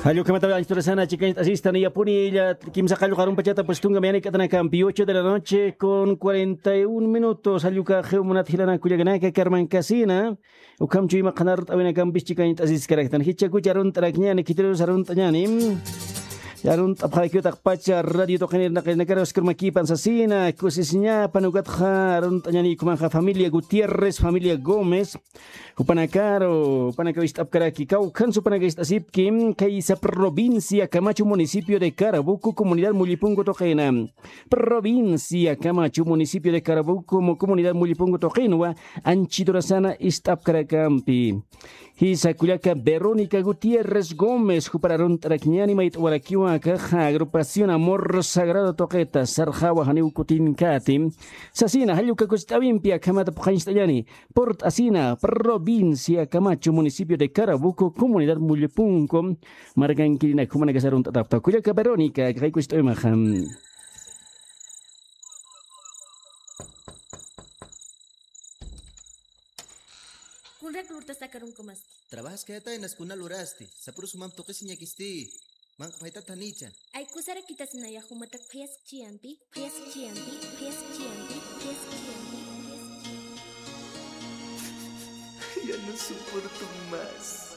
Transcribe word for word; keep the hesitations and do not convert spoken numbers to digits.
Jallukhamata anchturasana chikanchasista niyapuni illa kimsa qallqu arumpachata pues tunka mañana k'atanakampi ocho de la noche con cuarenta y un minutos. Jalluka xiw munat jilanaka kullakanaka karmankasina. Ukham chuyma qhanart'awinakampis chikanchasiskaraktan jichakucha arunt'arakñani khitirus arunt'añani. Arunt'apxarakiw taqpacha radio tuqinirnaqinakara oscarmakipan sasina kusisiñapan ukatxa arunt'añani ukhamanxa familia Gutiérrez, familia Gómez, jupanakaru jupanaka wist'apkaraki kawkhan supanaka ist'asipki. Kaysa provincia Camacho, municipio de Carabuco, comunidad Mullipunku tuqina. Provincia Camacho, municipio de Carabuco, comunidad Mullipunku tuqinwa anchiturasana ist'apkarakampi. Jisa kullaka Verónica Gutiérrez Gómez jupar arunt'arakñani mayt'awarakiwa akaxa agrupación Amor Sagrado tuqita sarxawa janiw kutinkati. Sasina jalluka kusit'awimpi akhamata phuqhañcht'añani. Purt'asina, provincia Camacho, municipio de Carabuco, comunidad Mullipunku. Markankirina jumanakasa arunt'atapta kullaka Verónica kaqaykusit'awimaxa. Kunrak lurtasakarunkumaski. Trabajaskayataynas kuna lurasti sapurusumam tuqisiñakisti. Manq'phaytat janicha. Aykusarakitasnaya jumatak phayaskchiyampi phayaskchiyampi phayaskchiyampi phayaskchiyampi. Ya no soporto más.